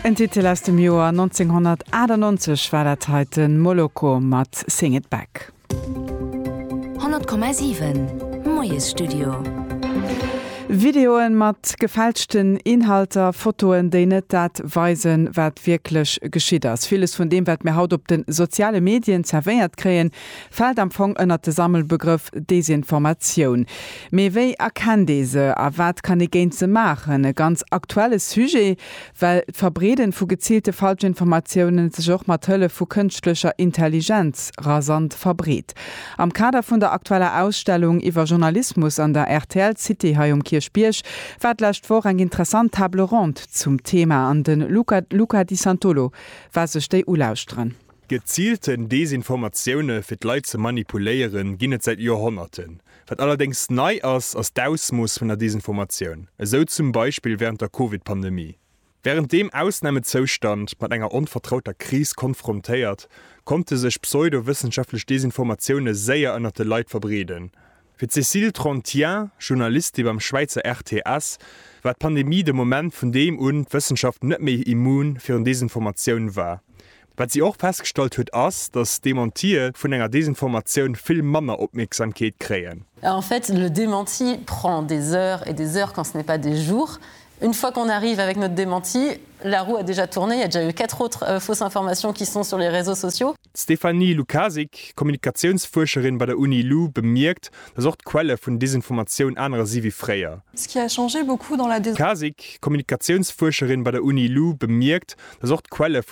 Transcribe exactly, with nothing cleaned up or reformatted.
En Titel aus dem Joer neunzehnhunnertachtundneunzeg war dat heiten, Moloko mat Sing It Back. honnert Komma siwen Moiesstudio. Videoen mat gefälschten Inhalter, Fotoen, déi net dat weisen, wat wierklech geschitt ass. Villes vun deem, wat mir haut op de soziale Medien zerwéiert kréien, fält am Fong ënner de Sammelbegrëff Desinformatioun. Mee wéi erkennt ee se a wat kann ee géint se maachen? E ganz aktuelle Sujet, well d'Verbreeden vu geziilte Falschinformatiounen sech och mat Hëllef vu kënschtlecher Intelligenz rasant verbreet. Am Kader vun der aktueller Ausstellung iwwer Journalismus an der R T L City hei um Kierchbierg war d'lescht Woch eng interessant Table ronde zum Thema an den Luca, Luca Di Santolo war sech déi ulauschteren. Gezielten Desinformatioune fir d'Leit ze manipuléieren, ginn et säit Joerhonnerten. Wat allerdéngs nei ass, ass d'Ausmooss vun der Desinformatioun. Esou zum Beispill wärend der Covid-Pandemie. Wärend deem Ausnamezoustand mat enger onvertrauter Kris konfrontéiert, konnte sech pseudowëssenschaftlech Desinformatioune séier ënner de Leit verbreeden. Fir Cécile Trontian, Journalistin beim Schwäizer R T S, war d'Pandemie de Moment, vun deem un d'Wëssenschaft net méi immun virun Desinformatioun war. Wat si och festgestallt huet, ass, datt Dementie vun enger Desinformatioun vill manner Opmierksamkeet kréien. En fait, le démenti prend des heures et des heures quand ce n'est pas des jours. Une fois qu'on arrive avec notre démenti, la roue a déjà tourné, il y a déjà eu quatre autres euh, fausses informations qui sont sur les réseaux sociaux. D'Stéphanie Lukasik, Kommunikatiounsfuerscherin bei der UniLu, bemierkt, datt och d'Quelle vun Desinformatioun anerer si wéi fréier. Ce qui a changé beaucoup dans la Lukasik, Kommunikatiounsfuerscherin bei der UniLu, bemierkt, datt och d'Quelle vun